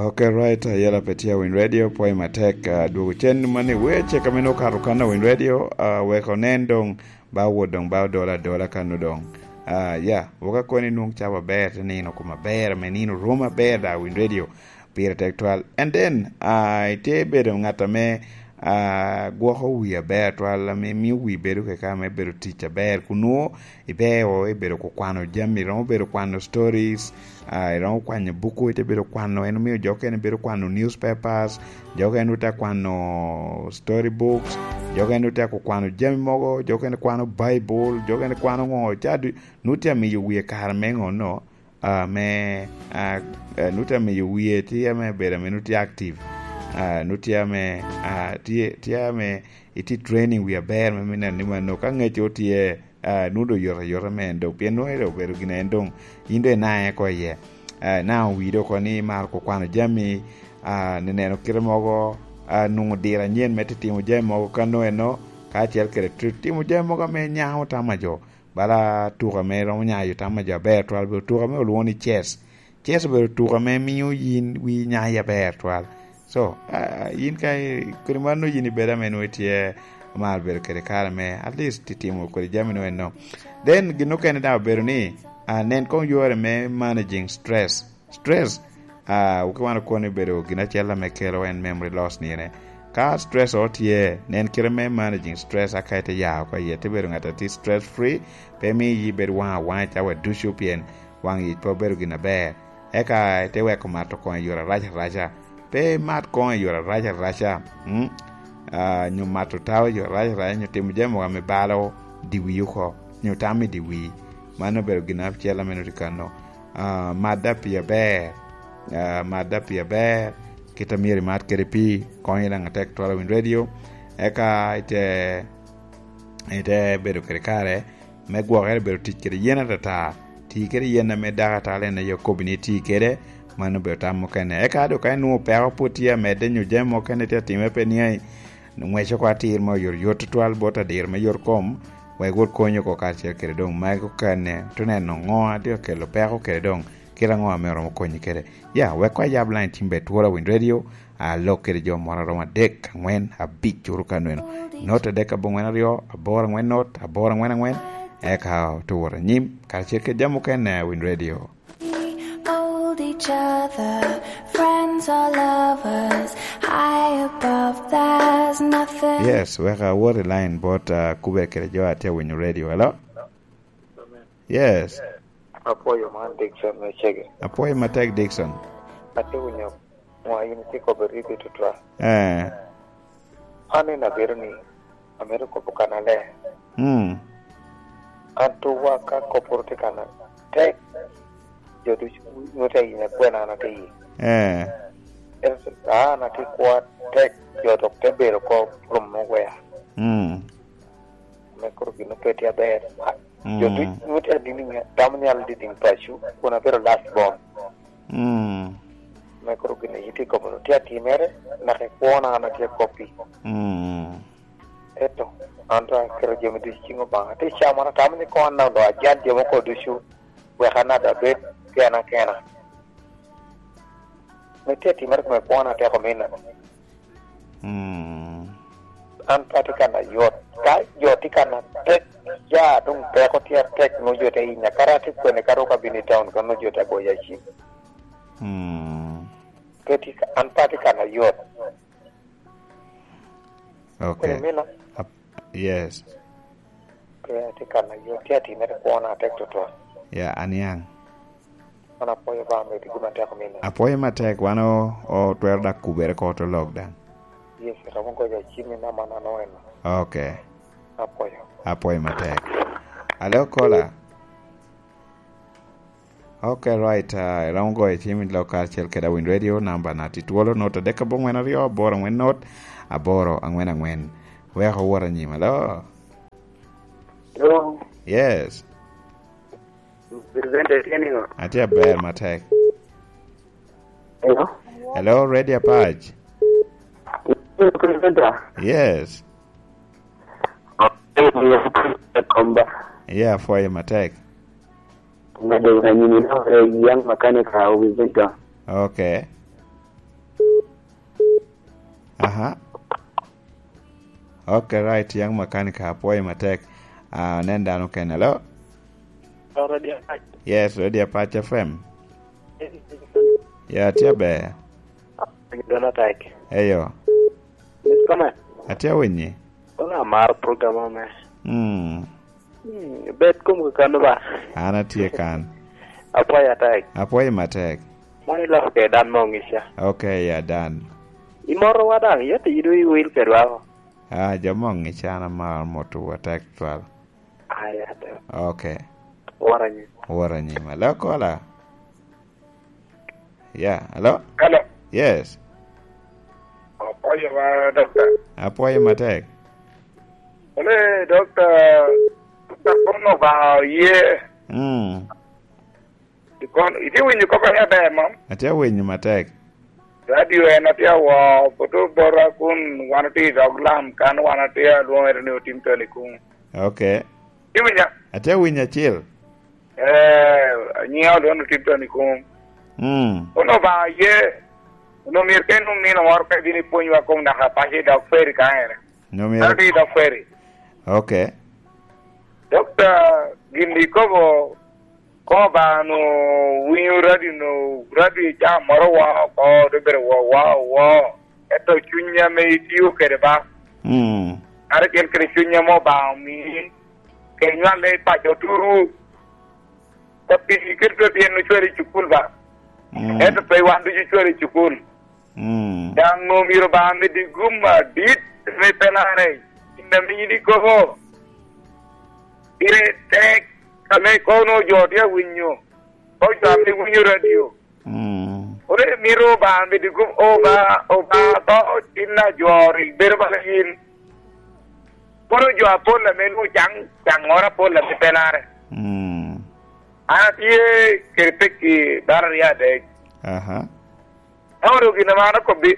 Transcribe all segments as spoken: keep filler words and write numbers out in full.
Ok, right, uh, yala pe tye Win Radio, pwoyo matek, uh, dwogo cen mani weche ka meno okato kan a Win Radio, uh, wek onen dong, ba wot dong, ba odola adola kan dong. Uh, ya, woka koni nwoŋo cawa aber, te nino kuma aber, ame nino rom aber da Win Radio, pire tek twal. And then, uh, ite bedo ŋat ame, uh, gwoko wi aber twal, ame mio wi bedo keka, ame bedo tic aber, kun nwoŋo ibeo, ibedo ku kwano jami, iromo bedo kwano stories, ah, iromo kwanyo buku, ite bedo kwano, en omio jo okene bedo kwano newspapers, jo okene ote kwano story books, jo okene ote ku kwano jami mogo, jo okene kwano Bible, jo okene kwano ŋo, ca du-, nu tye amiyo wie kare me ŋo no, ah, me, ah, eh, nu tye amiyo wie tye ame bedo ame nu tye active, ah, nu tye ame, ah, tye, tye ame itye training wi aber me, me neno ni mano ka ŋecce otye, ah, nwoŋo doŋ yot ayota me en doŋ, pien nwoŋo en obedo gin en doŋ, in doŋ inaŋe oko iye. Ah, inaŋo wi doŋ oko ni imaro ko kwano jami, ah, ni neno kite mogo, ah, nwoŋo diro anyen me titimo jami mogo ka nwoŋo eno, kacel kede ti-, timo jami mogo ame nyaŋo tam a jo, bala tuko ame romo nyayo tam a jo aber twal, bedo tuko ame olwoŋo ni chess. Chess obedo tuko ame mio yin wi nyayi aber twal. So, ah, yin ka i-, kodi mano yin ibedo ame nwoŋo itye omaro bedo kede kare me at least itimo kodi jami nwoŋo eno. Then gin okene daŋ obedo ni, ah, nen koŋ yore me managing stress. Stress, ah, ki wan okono ni bedo gin acel ame kelo en memory loss ni ene. Ka stress o tye, nen kite me managing stress aka ite ya oko iye, ite bedo ŋat a tye stress free, pe mi yi bedo waŋ awaŋ i cawa ducu pien waŋ yic pe obedo gin aber. Eka ite weko mato koŋ i yore arac araca. Pe imat koŋ i yore arac araca, mm? Ah, nyo mato tawo i yore arac araca, nyo timo jami mogo ame balo diwi oko, nyo tam i diwi. Mano obedo gin acel ame nwoŋo tye kano. Ah, madda pii aber. Ah, madda pii aber. Kit a myero imat kede pii, konyo daŋ atek twala Win Radio. Eka ite, ite bedo kede kare me gwokere, bedo tic kede yen atata. Ti kede yen ame dakatara en aye okobbi ni iti kede, mano obedo tam mukene. Eka doŋ ka inwoŋo peko pwod tye amedde nyo jami mukene tye atimere pe niaŋ, ŋwec oko atir ma oyotoyot tutwal bot adiro me yot kom, wek wot konyi oko karacel kede doŋ magi okene, te neno ŋo a tye ka kelo peko kede doŋ kit aŋo ame oromo konyi kede. Ya, wek koŋ ayab line team ber twolo Win Radio, alok kede jo moro aromo adek, aŋwen, abic, curu ka nweno. Not adek aboŋwen aryo, aboro aŋwen not, aboro aŋwen aŋwen, eka oto wot anyim, karacel kede jami mukene, Win Radio. Hold each other, friends or lovers, high above, there's nothing. Yes, wek awot i line bot, uh, kubere kede jo a tye winyo radio. Hello? Yes. Apwoyo man Dickson me Cege. Apwoyo matek, Dickson. Ate winyo ŋo a in itye kobbe ribbe tutwal. Eh. An en abedo ni amito kobo kannaler. Mm. An tuwa ka kop pwod tye kanna tek, jo ducu nwoto ayinya kwena an atye iye. Eh. Ento an atye kwo atek, jo dok te bedo oko rum me wea. Mm. Me kuro gin ope tye aber. Mm. Jo duc nwoto adini nya-, tamo nyalo diding paco, kun abedo last born. Mm. Me kuro gin a itye kobo tye atimere, naka i kwona an atye koppi. Mm. Eto, an dok aketo jami ducu i ciŋ Obaŋa. Atye i cawa man atamo ni koŋ an dok ajal jo moko ducu, wek an dok abed kena kena. Me tye atimere kome kwona atek omina. Mm. An pe atye kan ayot. Ka jo tye kan atek, ya doŋ peko tye atek, nwoŋo jo te hinya. Kara atye kwene ka rok abino i taun, ka nwoŋo jo te goya cim. Mm. Pe tye ka, an pe atye kan ayot. Okay. Kodi mino? Ap-, yes. Pe atye kan ayot, tye atimere kwona atek tutwal. Ya, aniaŋ. An apwoyo Obaŋa medi gin atek omina. Apwoyo matek, wan o-, otwero dak kubere ko to lok daŋ. Yes, romo goyo acim i namba na noen. Okay. Apwoyo. Apwoyo matek. Alo, kola. Okay, right, uh, iromo goyo cim i lok karacel kede Awiny Radio, namba na tye twolo, not adek abongwen aryo, aboro angwen not, aboro angwen angwen. Wek owot anyim, alo? Hello? Yes. Presenter tye niŋo? Atye aber matek. Hello? Hello, Radio Apac. Presenter? Yes. Komba. Yeah, apwoyo matek. Ngado anyimi na ore young mechanic a Wizenta. Okay. Aha. Ok, right, young mechanic, apwoyo matek. Ah, nen dano kene. Hello? Hello, Radio Apac. Yes, Radio Apac F M. Ya, tye aber. Dona tek. Eyo. Yes, come on. Atye awinyi. Kono amaro program ame. Mm. Hmm, bet kom kakano ba. An atye kan. Apwoyo atek. Apwoyo matek. Man iloko ke dan mo ngica. Ok, ya dan. Imoro wa dang, yete idu iwil kedwa o. Ah, jo mo ngica an amaro moto atek twal. Aya, tek. Ok. Wora nyi. Wora nyi. Malo kola. Yeah, hello? Hello. Yes. Apwoyo wa, Doctor. Apwoyo matek. Ole, Doctor, Doctor kono ba ye. Mm. Ikon, iti winyo koko ya ber mom? Atye winyo matek. Radio en atye awo, buto bora kun wan otye i dog lam, kan wan atye alwoŋere ni otim toni kun. Ok. Iti winyo? Atye winyo acil. Eh, anyiŋa olwoŋo Tipton i kom. Mm. Kono Obaŋa ye, onwoŋo myero ka inwoŋ nino moro ka ibino ipwonywa kom naka paco i dog feri ka ene. Nwoŋo myero. An atye i dog feri. Ok. Dokta, gin ikobo, ko Obaŋa onwoŋo winyo radio, onwoŋo radio i caa moro wa oko, te bedo wa, wa, wa. Ento cuny ame itio kede ba. Mm. Kadi kit kede cuny ame Obaŋa omii, kede nywal i paco turu. Ka pii kede pe pien ocwalo i cukul ba. Mm. Ento pe wan ducu ocwalo i cukul. Mm. Daŋ omyero Obaŋa medi gum adit me pelare. Gin ame in ikobo, pire tek, ame kono jo tye awinyo. Ko jo ame winyo radio. Mm. Ore miro Obaŋa medi gum, Obaŋa, Obaŋa to tin ajoro i bedo bala yin. Kono jo apol ame nwoŋo caŋ, caŋŋoro apol ame pelare. Mm. An atye kede pekki bala aryo adek. Aha. Ento gin ame an akobbi,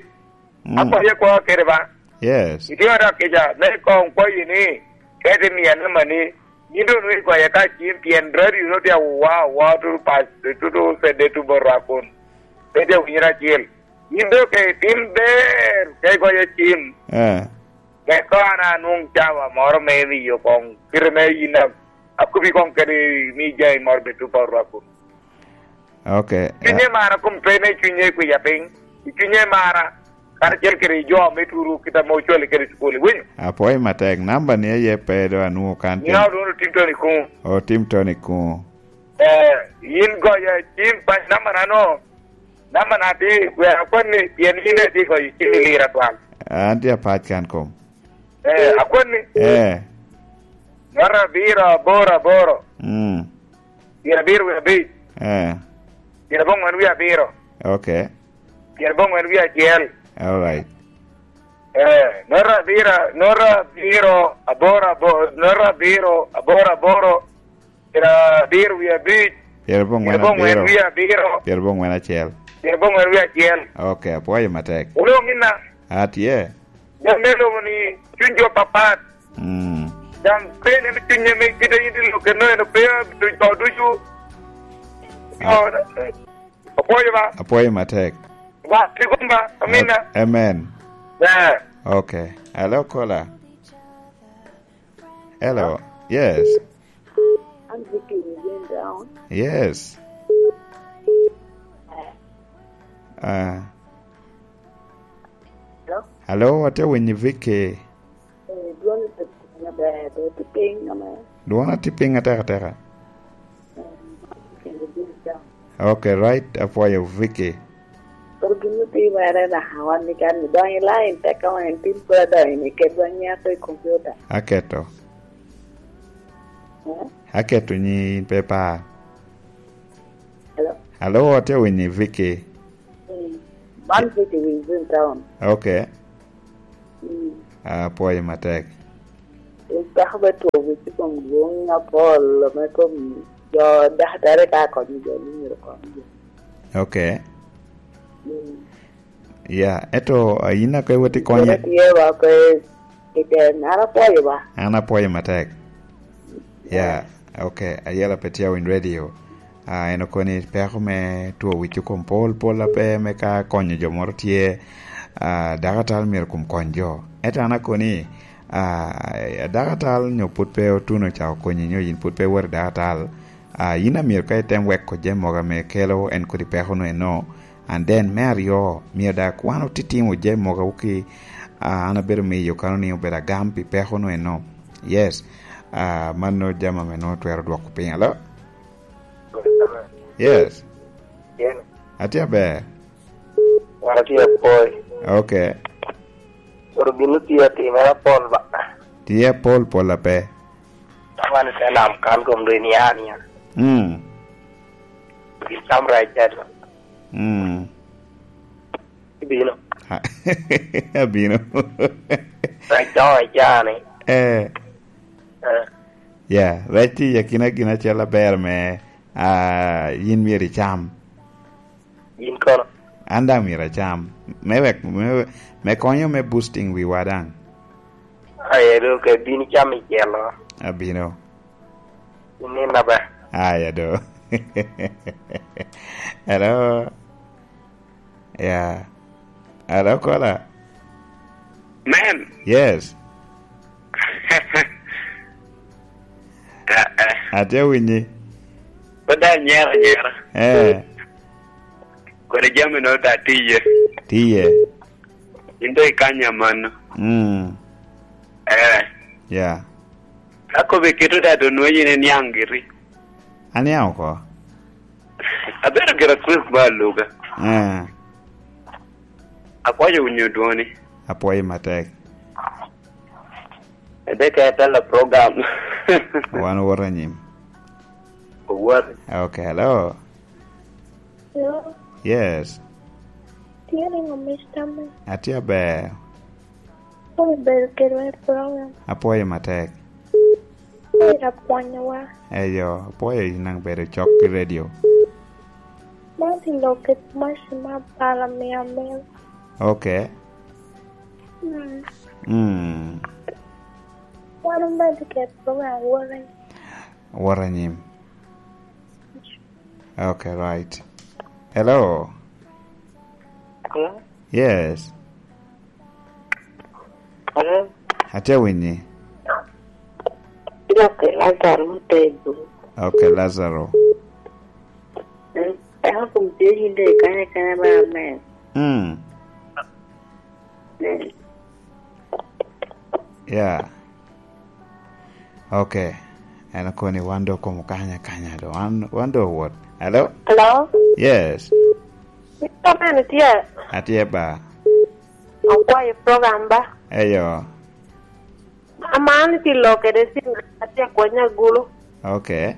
mm, akwaye akwa kede ba. Yes. Itye ŋat akica, me koŋ kwayi ni, ka ite miya namba ni, yin doŋ nwoŋo igoye ka cim, pien radio no tye awa, awa, tutu pac, tutu sede, tutu borwa kun. Pe tye awinyere acel. Yin doŋ ka itim ber, ka igoye cim. Eh. Wek koŋ an anwoŋ cawa moro me miyo koŋ, kite me yin a-, akobi koŋ kede mi jami moro bed tutu borwa kun. Ok. Cunye mara kom pe me cunye kwiya piny. I cunye mara, karacel kede jo me turu kit ame ocwali kede cukul, iwinyo? Apwoyo matek. Namba ni aye pe do anwoŋo kan. Nina oduno tim toni kuŋ. Otim toni kuŋ. Eh, yin goya cim pa namba na no. Namba na ti, wek akwan ni, pien yin eti goyo cim i lira twal. An tye apac kan kom. Eh, akwanni. Eh. Nota abiro aboro aboro. Mm. Pyerabiro wie abic. Eh. Pyeraboŋwen wie abiro. Ok. Pyeraboŋwen wie acel. All right. Eh, nota abiro, nota abiro aboro aboro, nota abiro aboro aboro. Pyerabiro wie abic. Pyeraboŋwen abiro. Pyeraboŋwen wie abiro. Pyeraboŋwen acel. Pyeraboŋwen wie acel. Ok, apwoyo matek. Wulwoŋ ina. Atye. Jami me lobo ni cuny jo papat. Mm. Daŋ pe nen cuny ame kite yin tye lok eno, eno pe tuc to ducu. Ah. Apwoyo ba. Apwoyo matek. Ba, tigum ba. Amina. Amen. Yeah. Ok. Hello, caller. Hello. Yes. An Vicky Rubin Brown. Yes. Ah. Hello? Hello, atye winyi Vicky. Eh, dwon, eh, ber, ber, tye piny ame. Dwona tye piny atek ateka. Eh, Vicky Rubin Brown. Ok, right, apwoyo Vicky. Kor gin me pi mere na, wan ni kan ni donyo i line, tek ka wan tin pwod adonyo ni ket wan nyato i computer. Aketo. Eh? Aketo nyi pe pa. Hello? Hello, atye winyi Vicky. Mm. Man Vicky Wilson Town. Okay. Mm. Ah, apwoyo matek. Peko me two wic i kom dwong apol, me kom jo dakitari ka konyo jo ni myero kony jo. Okay. Mm. Ya, eto, ah, in ake woti konye? Kede tye wa pe i tyen, an apwoyo ba. An apwoyo matek. Ya, okay, ayela pe tye awiny radio. Ah, en okoni peko me two wic i kom pol, pol ape me ka konyo jo moro tye. Ah, dakatal myero kom kony jo. Ento an akoni, ah, dakatal nyo pwod pe otuno ca okonyi, nyo yin pwod pe iwot i dakatal, ah, yin a myero ka item weko jami mogo ame kelo en kodi peko-nu eno. And then, me aryo, myero daŋ kwan otitimo jami mogo ki, ah, an abedo miyo kano ni obedo agam pi peko-nu eno. Yes. Ah, mano jami ame nwoŋo twero dwoko piny. Alo? Yes. Atye aber. Wan atye apoi. Ok. Koro gin otye atimere apol ba. Tye apol pol ape. Wan i te nam kan kom dwe ni ania. Mm. Gin cam rac cat. Mm. Ibino. Ha, abino. Rac doŋ icani. Eh. Eh. Ya, rec tye i akina gin acel aber me, ah, yin myero icam. Yin kono? An daŋ myero acam. Me wek, me, me konyo me boosting wiwa daŋ. Aye, do ke bin icam icelo. Abino. Inin aber. Aya do. Hello. Yeah. Hello, caller. Man. Yes. Eh, eh. Atye winyi. Pwod anyero anyera. Eh. Kodi jami no ta tiye. Tiye. In do ikanya mano. Mm. Eh. Yeah. Ka kobe keto da do nwa yin iniaŋ giri. Aniaŋ oko. Abedo gira Chris ba aluga. Eh. Akwayo winyo dwoni. Apwoyo matek. Ebe ka etala program. Wan owoto anyim. Owat. Okay, hello. Hello. Yes. Tye ringo, Mister Man. Atye aber. Kono bedo kedwa i program. Apwoyo matek. Kono apwonyowa. Eyo, apwoyo in daŋ bedo cok ki redio. Man tye lok i maci me abalo mia mil. Ok. Mm. Mm. Wan omedo kede program wore. Wot anyim. Okay, right. Hello? Hello? Yes. Hello? Atye winyi. Dok Lazaro me Pego. Okay, Lazaro. Mm, eka kom tye yinde kanye kanye ba amen. Mm. Mm. Yeah. Okay. En okoni wan do komo kanya kanya do. Wan, wan do wot. Hello? Hello? Yes. Mister Man itye? Atye ba. Akwayo program ba. Eyo. Aman itye lo kede sin atye akwanya gulu. Okay.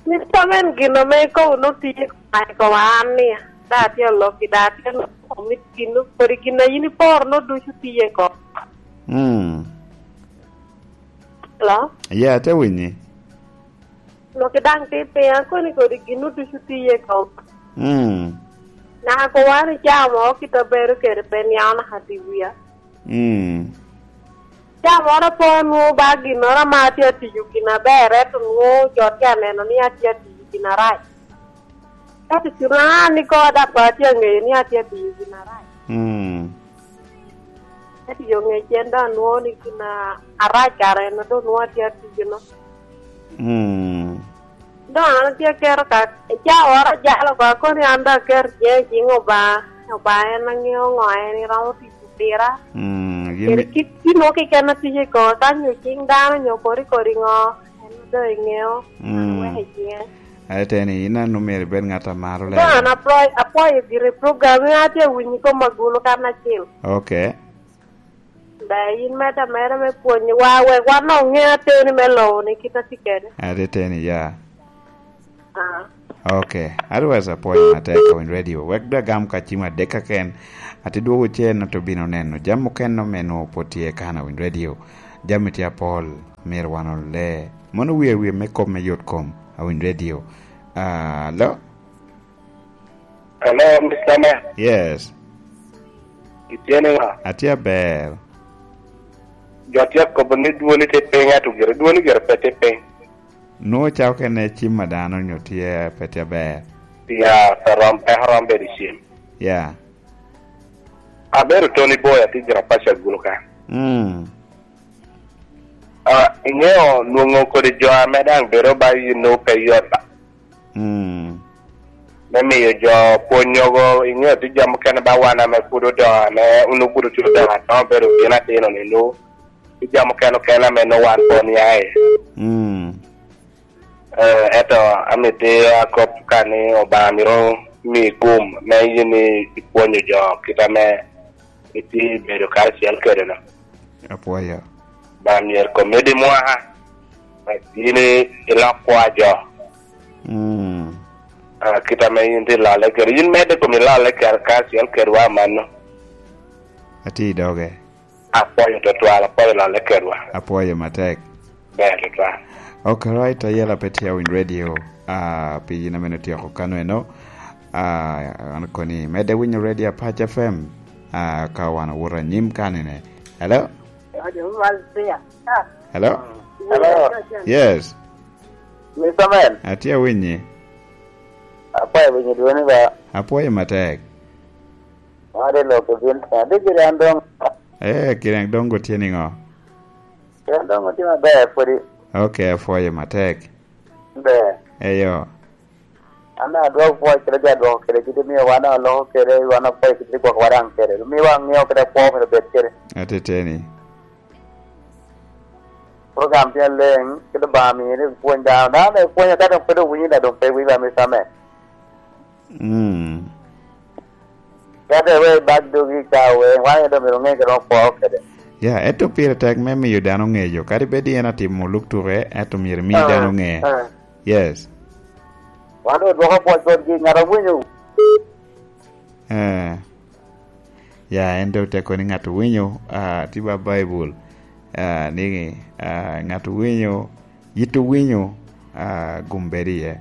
Mister Man gin ame ikobo no tiye koma ikobo an ni da atye aloki da atye aloki komit gin no kodi gin a yin iporo no ducu tiye ko. Mm. Hello? Yeah, ate winyi. Loki daŋ ti piny akoni kodi gin no ducu tiye ko. Mm. Naka ko wan icamo kit a bedo kede pe niaŋo naka ti wia. Mm. Ca moro pe onwoŋo ba ginnoro ame atye atiyo gin aber, ento nwoŋo jo tye aneno ni atye atiyo gin arac. Ka tutuno an ikoŋo daŋ pe atye aŋeyo ni atye atiyo gin arac. Mm. Ento yo ŋec en daŋ anwoŋo ni gin a-, arac kara en a doŋ nwoŋo atye atiyo-no. Mm. Doŋ an atye aketo ka, cawa oro ajalo oko, akoni an daŋ aketo ciŋa i ciŋ Obaŋa. Obaŋa en aŋeo ŋo en iromo tiyo pira. Mm, kede gin kit gin mo keken a tye i kome, ka nyo ciŋ dano nyo kodi kodi ŋo, en doŋ iŋeo. Mm. Wek i ciŋe. Aye teni, in an omyero ibed ŋat a maro lebe. Doŋ an apwoyo, apwoyo giri program, in atye awinyo i kom agulu kan acel. Ok. Ber yin medde ameda me pwonyowa, wek wan dok oŋe ateni me lobo ni kit a tye kede. Atye teni, ya. Ah. Ok. Otherwise, apwoyo matek ka winy radio. Wek dwe gam ka cim adek keken. Ati dwogo cen, oto bino neno. Jam mukene ome nwoŋo pwod tye kan a winy radio. Jami tye apol. Myero wan ole. Mono wie wie me kop me yot kom a winy radio. Ah, lo? Hello, Mister Man. Yes. Itye niwa? Atye aber. Jo tye akobo ni dwoni tye piny, ato gire dwoni gire pe tye piny. Nwoŋo cako kene cim a dano nyo tye pe tye aber. Ya, pe rom, pe rom bedo i cim. Ya. Abedo Tony Boy, atye gin apaco agulu ka. Mm. Ah, iŋeo nwoŋo kodi jo ame daŋ bedo ba yin nwoŋo pe yot ba. Mm. Me miyo jo pwonyogo, iŋeo tye jo mukene ba wan ame pud odongo, ame onwoŋo pud otye odongo adongo, bedo gin atino ni nwoŋo. Tye jo mukene okene ame nwoŋo wan pwod nia iye. Mm. Eh, ento amito akop ka ni Obaŋa myero mi gum me yin ipwonyo jo kit ame itye bedo karacel kede-nu. Apwoyo. Obaŋa myero komedi mwaka, yin ilok kwa jo. Mm. Ah, kit ame yin tye lale kede. Yin medde kom ilale kede karacel kedwa amanno. Atye i doge. Apwoyo tutwal, apwoyo lale kedwa. Apwoyo matek. Ber tutwal. Ok, right, ayela pe tye awiny radio, ah, pi yin amene otyeko kano eno. Ah, an koni, medde winyo radio Apac F M, ah, ka wan owuto anyim kanine. Hello? Hello? Hello? Yes. Mister Man. Atye awinyi. Apwoyo winyo dwoni ba. Apwoyo matek. Ade loko bin, ade gire an dong. Eh, kire dong gutye niŋo? Kire dong gutye maber pwodi. Ok, apwoyo matek. Ber. Eyo. An adwoko pwoc kede jo adwoko kede kit omio wan oloko kede, wan apwoyo kit gwok wadaŋ kede. Omio wan ŋeo kede kwo myero bed kede. Ateteni. Program tye aleng, kede Obaŋa mio ni pwony dano. Dano dong pwonyo ka dong pe dong winyo da dong pe wiba Mister Man. Mm. Kadi we bag dogi ka we, wan aye dong myero oŋe kede okwo kede. Ya, ento pire tek me miyo dano ŋeyo, kadi bed en atimo lub tuke, ento myero imi dano ŋe. Ah. Yes. Wan dong odwoko pwoc botgi, ŋat awinyo. Eh. Ya, en dong te kono ni ŋat owinyo, ah, tye ba Baibul, ah, ni, ah, ŋat owinyo, yit owinyo, ah, gum bedo iye.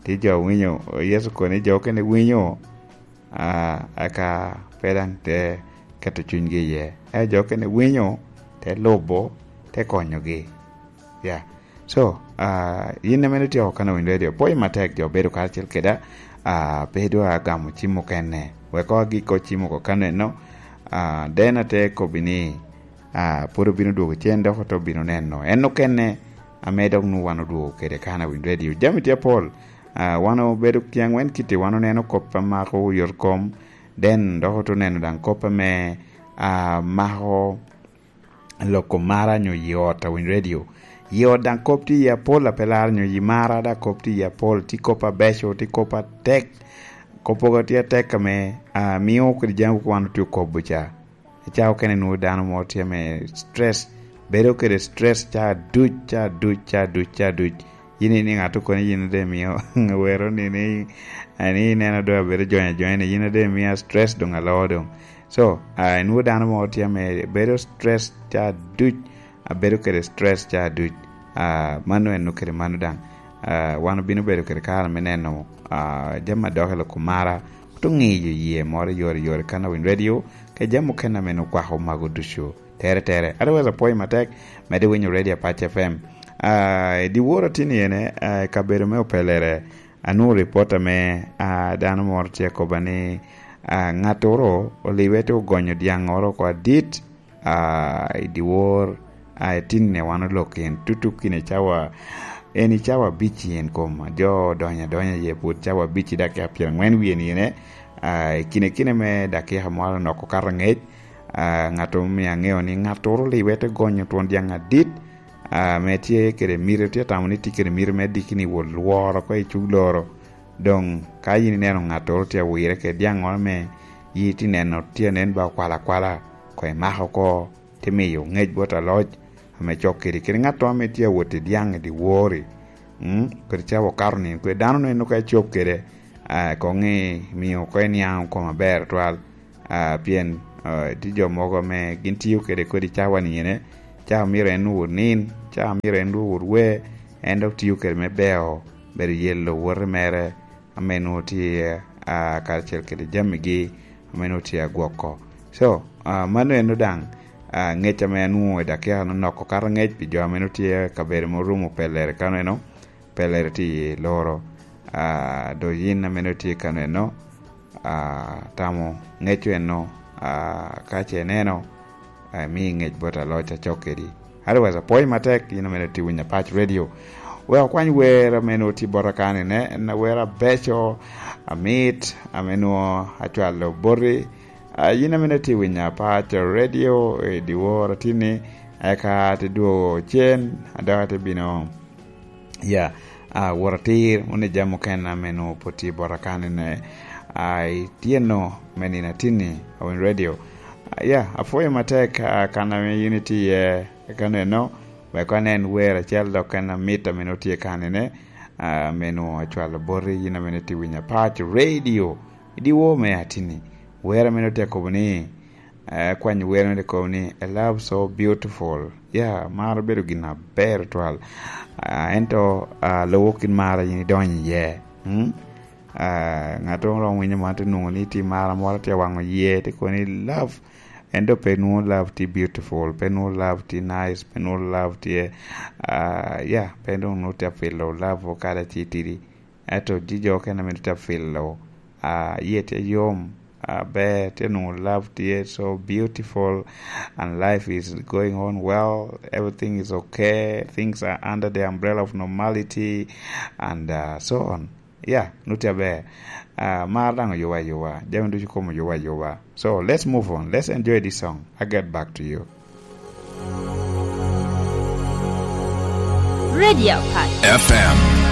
Tye jo owinyo, Yecu kono ni jo okene winyo, ah, aka pe daŋ te keto cunygi iye. Ento jo okene winyo, te lubo, te konyogi. Ya. So, ah, yin ame ityeko kano winyo radio, pwoyo matek jo bedo karacel keda, ah, pe dwa gamo cim mukene. Wek agik ko cim oko kano eno, ah, den ate kobbi ni, ah, pwod obino dwogo cen dok ote obino neno. En okene ame dok nwoŋo wan odwogo kede kano winyo radio. Jami tye apol, ah, wan obedo ki aŋwen kiti, wan oneno kop a mako yot kom, den dok ote oneno daŋ kop ame, ah, mako loko mara nyo yi ot a winyo radio. Yi ot daŋ kop tye iye apol a pe laro nyo yi mara daŋ kop tye iye apol, tye kop abeco, tye kop atek. Kop mogo tye atek ame, ah, mio kede jami mogo wan otye okobo ca. Ca okene nwoŋo dano mo tye ame stress, bedo kede stress ca duc, ca duc, ca duc, ca duc. Yin iniŋo ato kono yin de mio wero ni, ni, ni ineno doŋ abedo jony ajony ni yin de mia stress doŋ aloo doŋ. So, ah, inwoŋo dano mo tye ame bedo stress ca duc, abedo kede stress ca duc. Ah, mano en kede mano daŋ. Ah, wan obino bedo kede kare me neno, ah, jami a dok i lok omara, oto ŋiyo yie moro i yore yore kan awiny radio, ka jami mukene ame okwako mago ducu. Tere tere. Otherwise, apwoyo matek, medde winyo radio Apac F M. Ah, i dyewor atin ene, ah, i kabedo me Opelere, anwoŋo ripot ame, ah, dano moro tye akobba ni, ah, ŋattoro oliwe te ogonyo dyaŋŋoro oko adit, ah, i dyewor, ah, i tinne wan olok en tutuk kine cawa, en i cawa abic en kom, jo odonyo adonya iye pwod cawa abic i dakika pyeraŋwen wie nine, ah, i kine kine me dakika moro onoko kato aŋec, ah, ŋat omio aŋeo ni ŋattoro oliwe te gonyo twon dyaŋ adit, ah, ame tye kede miti, tye tamo ni tye kede miti me diki ni wot lworo oko i cug loro. Doŋ ka yin ineno ŋattoro tye awire kede dyaŋŋoro ame yi tye neno tye nen ba okwalo akwala, koŋ imako oko, tye miyo ŋec bot aloc ame cok kedi. Kede ŋatto ame tye awot i dyaŋ i dyewor-ri, mm, kodi ca okato nino, kodi dano neno ka ecop kede, ah, koŋ imio oko iniaŋ oko maber twal. Ah, pien, ah, tye jo mogo ame gin tiyo kede kodi cawa ni ene, cawa myero en owot nin, cawa myero en owot wer, en dok tiyo kede me beo, bedo yelo wote mere, ame nwoŋo tye, ah, karacel kede jamigi ame nwoŋo tye agwoko. So, ah, mano eno daŋ, ah, ŋec ame anwoŋo i dakika-nu nok okato ŋec pi jo ame nwoŋo tye kabedo ma orumo pelere kano eno, pelere tye i loro. Ah, do yin ame nwoŋo tye kano eno, ah, tamo ŋeco eno, Ah, ka ce ineno, ah, mi ngec bot aloc acok kedi. Otherwise, apwoyo matek, in amene tye winyo Apac Radio. Wek okwany wer amene otye bota kan ine, en wer abeco, amit, ame nwo acwalo boti. Ah, in amene tye winyo Apac Radio, i dyewor atini, eka te dwogo cen, adok te bino. Ya, ah, wot atir, wun i jami mukene ame nwo pwod tye bota kan ine, ah, ityeno me nino atini, awin radio. Ah, ya, apwoyo matek, ah, kan ame yin itye iye, kano eno, wek anen wer acel dok en amit ame nwo tye kan ine, ah, ame nwo acwalo boti, yin ame nwo itye winyo Apac Radio, i dyewor me atini. Wer ame nwo tye akobo ni, eh, kwanyo wer ame tye akobo ni, "A love so beautiful." Ya, maro bedo gin aber twal. Ah, ento, ah, lubo kit maro yin idonyo iye. Mm? Ah, ŋat moro romo winyo man te nwoŋo ni tye mara moro tye awaŋo yie, te kobo ni love. Ento pe nwoŋo love tye beautiful, pe nwoŋo love tye nice, pe nwoŋo love tye, ah, ya, pe nwoŋo tye apilo love okada ci tidi. Ento ji jo okene ame tye apilo, ah, yie tye yom, aber, tye nwoŋo love tye so beautiful, and life is going on well, everything is okay, things are under the umbrella of normality, and, ah, so on. Ya, nwo tye aber. Ah, mar daŋ oyuba ayuba. Jami ducu kom oyuba ayuba. So, let's move on. Let's enjoy this song. I get back to you. Radio Apac. F M.